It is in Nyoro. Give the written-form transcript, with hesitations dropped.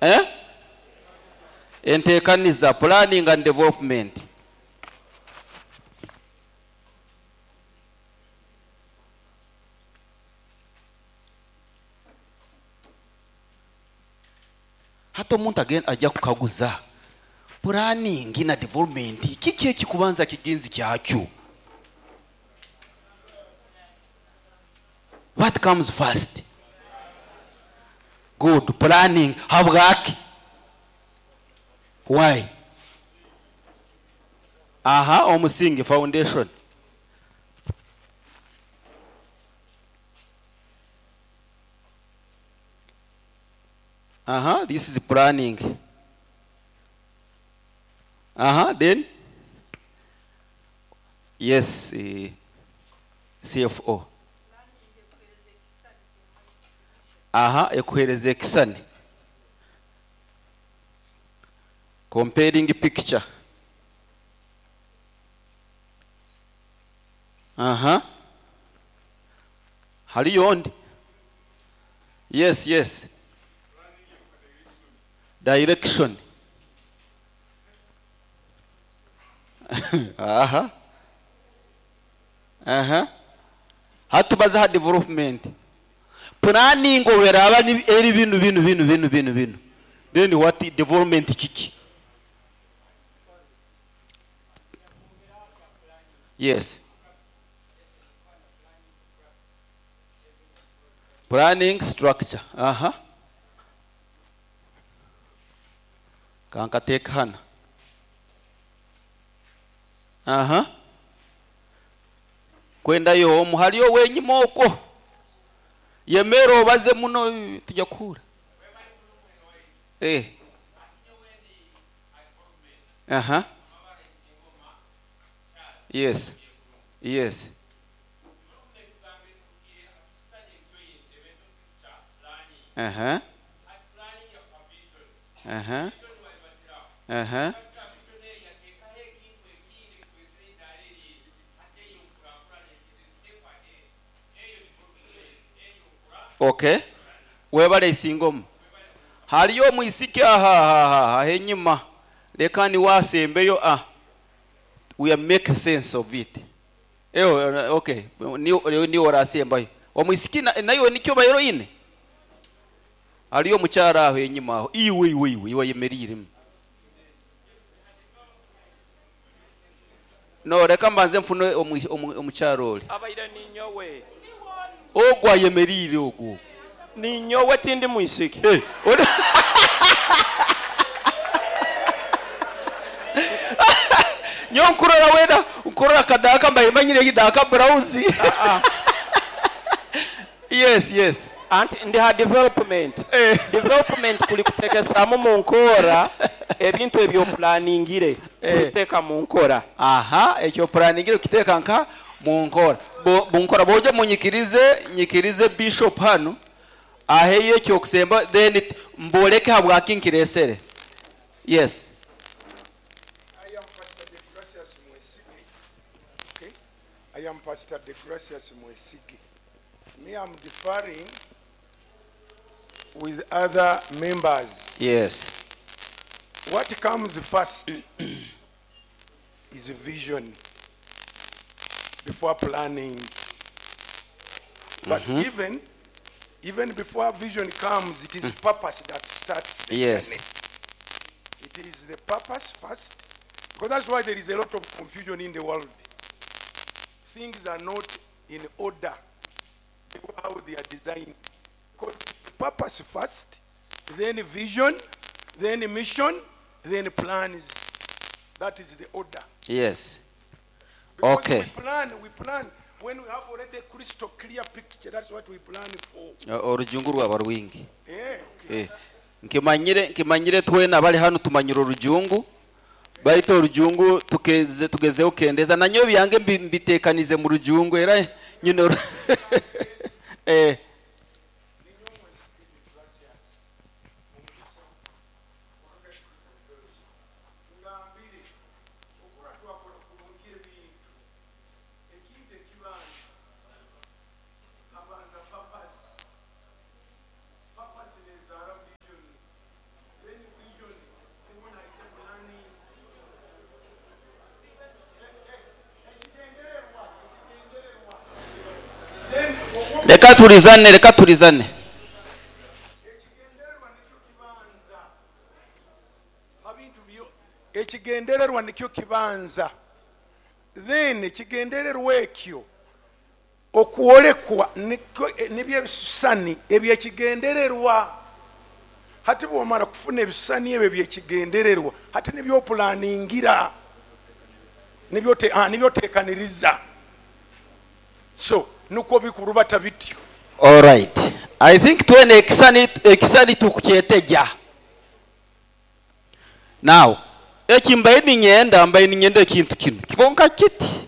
Eh? Entekaniza, planning and development. Hati omuntu ajya kukaguza planning na development kiki ekikubanza kigenzi kyakyo? What comes first? Good. Planning. Habwaki? Why? Aha, omusingi, foundation. Aha, this is planning. Aha, then? Yes, CFO. Aha, ekuhereza ekisani. Comparing picture. Aha. Haliyo ondi? Yes, yes. Direction. Aha. Aha. Hatubaza development. Planning oberaba ni eri binu binu binu binu binu binu. Then what development kiki? Yes. Planning structure. Aha. Kankateka hano. Aha. Kwenda yo omuhaliyo wenyima okwo. Yemero obaze muno tujya kuhura. Eh. Aha. Yes. Yes. Aha. Aha. Aha. Okay. Webale isingomu. Haliyo mwisiki aha henyuma. Leka ni wasembeyo ah. We make sense of it. Okay. Ni orasembayo. Omwisiki nayo nikyo bayero ine. Haliyo mukyara aho enyuma aho. Iwe iwe iwe iwe yemerire. No reka mbanze mfune omukyaro oli. Abaire ninyowe. Ogwa yemerire ogwo. Ninyowe tindi mwisiki. Eh. Nyo nkurora weda, nkurora kadaka mbaye manyire gidaka browse. Yes, yes. Anti ndi ha development. Development kuli kutekesamu mu nkora ebintu ebyo planningire kuteka mu nkora. Aha, ekyo planningire kiteka nka mu nkora. Bo nkora boje munyikirize, nyikirize bishop hano. Aheye ekyo kusemba then mboleke habwaki nkiresere. Yes. I am Pastor De Gracias Mwesige. Okay. I am Pastor De Gracias Mwesige. Me, I'm differing with other members. Yes. What comes first is vision before planning. But even before vision comes, it is purpose that starts the journey. It is the purpose first, because that's why there is a lot of confusion in the world. Things are not in order how they are designed. Because purpose first, then vision, then mission, then plans. That is the order. Yes. Because okay. We plan when we have already crystal clear picture. That's what we plan for. Orujungu rwaba rwingi. Yeah, okay. Nkimanyire twena bali hano tumanyira orujungu. Baito orujungu tugezeho kendeza nanyo byange mbitekanize mu rujungu era nyine eh. Tulizane, leka tulizane. Ekigendererwa nikyo kibanza, then ekigendererwa ekyo okwolekwa nibyo ebisusani ebyekigendererwa. Hati bwomara kufuna ebisani ebyo byekigendererwa, hati nibyo opulaningira, nibyo otekaniriza, so nukwo bikurubata bityo. All right, I think twene ekisani tukukyeteja. Now eki mbaye ninyenda, mbaye ninyenda ekintu kinu kibonka kiti.